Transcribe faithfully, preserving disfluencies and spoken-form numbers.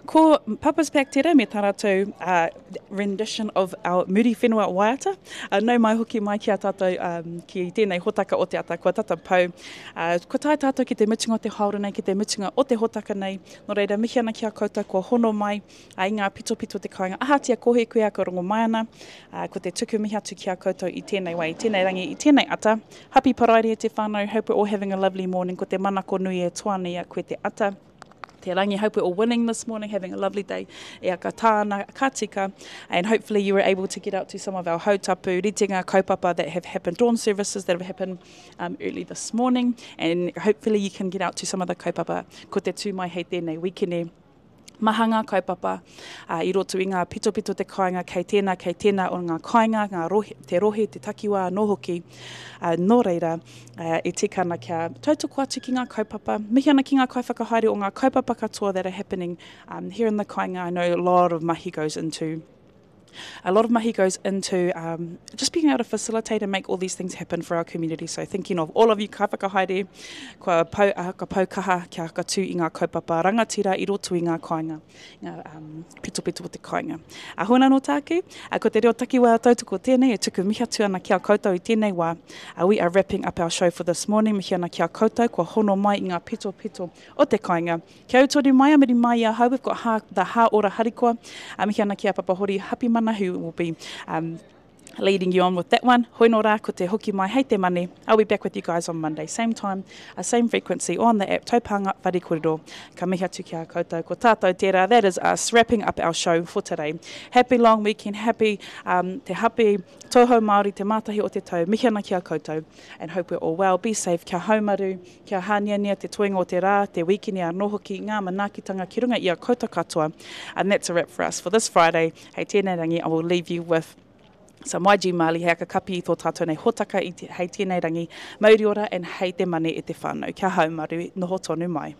Ko Papa's Pack tērā me tā rātou uh, rendition of our Muriwhenua waiata. Uh, nau mai hoki mai ki a tātou um, ki tēnei hotaka o te ata, kua tata pau. Uh, kua tae tātou ki te mutunga o te haora nei, ki te mutunga o te hotaka nei. Nō reira, mihi ana ki a koutou kua hono mai uh, i ngā pitopito te kāinga. Ahatia kohe koe a ka rongo mai ana, uh, ko te tuku mihi atu ki a koutou i tēnei wā, i tēnei rangi, i tēnei ata. Happy Paraire e te whānau, hope we're all having a lovely morning. Ko te manako nui e toa nei a koe te ata. Te rangi, hope we're all winning this morning, having a lovely day. E aka tāna, ka tika, and hopefully you were able to get out to some of our hautapu, ritenga kaupapa that have happened, dawn services that have happened um, early this morning, and hopefully you can get out to some of the kaupapa ko te tū mai hei tēnei wikene. Maha ngā kaupapa uh, i roto i ngā pitopito te kāinga, kei tēnā, kei tēnā o ngā kāinga, ngā rohe, te rohe, te takiwā anō hoki. Uh, nō reira, uh, e tika ana kia tautoko atu ki ngā kaupapa, mihi ana ki ngā kaiwhakahaere o ngā kaupapa katoa that are happening um, here in the kāinga. I know a lot of mahi goes into a lot of mahi goes into um, just being able to facilitate and make all these things happen for our community. So thinking of all of you kaiwhakahaere, kua pau, uh, ka pau kaha kia whakatū i ngā kaupapa rangatira i roto i ngā kāinga, ngā um, pitopito o te kāinga. A hona no tāku, uh, ko te reo takiwā tautoko tēnei, e tuku mihi atu ana ki a koutou i tēnei wā. Uh, we are wrapping up our show for this morning. Mihi ana ki a koutou, kua hono mai i ngā pitopito o te kāinga. Kia utori mai, a muri mai i ahau, we've got ha, the Ha Ora Harikoa. Uh, mihi ana ki a Papa Hori Hapimana, who will be um, leading you on with that one. Hoi nō rā, ko te hoki mai hei te mane. I'll be back with you guys on Monday, same time, uh, same frequency, on the app, Taupānga Whare Kōrero. Ka mihi atu ki a koutou, ko tātou tērā. That is us wrapping up our show for today. Happy long weekend, happy um, te happy tauhou Māori, te mātahi o te tau. Mihi ana ki a koutou and hope we're all well. Be safe, kia haumaru, kia hāniania te toenga o te rā, te wikini anō hoki, ngā manaakitanga ki runga i a koutou katoa. And that's a wrap for us for this Friday. Hei tēnei rangi, I will leave you with some Y G Marley hei kapi i tō tātou nei hotaka i te, hei tēnei rangi, mauri ora and hei te mane e te whānau. Kia haumaru, noho tonu mai.